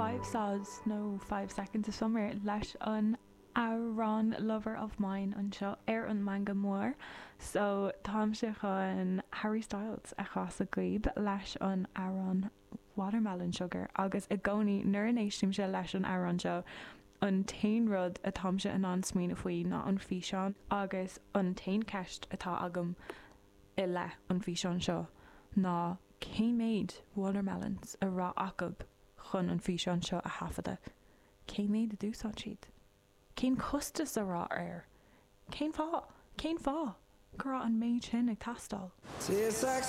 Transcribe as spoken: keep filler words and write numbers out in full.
Five Sods nó Five Seconds of Summer leis an amhrán Lover of Mine anseo ar an Meangadh Mór so táimse chun Harry Styles a chasadh daoibh leis an amhrán Watermelon Sugar agus i gcónaí nuair a éistimse leis an amhrán seo an t-aon rud atáimse in ann smaoineamh faoi ná an físeán agus an t-aon cheist atá agam i leith an físeán seo ná cé méid watermelons a raibh acu chun an físeán seo a thaifeadadh. Cé méid a d'úsáid siad? Cén costas a raibh air? Cén fáth? Cén fáth? Go raibh an méid sin ag teastáil. Tastes like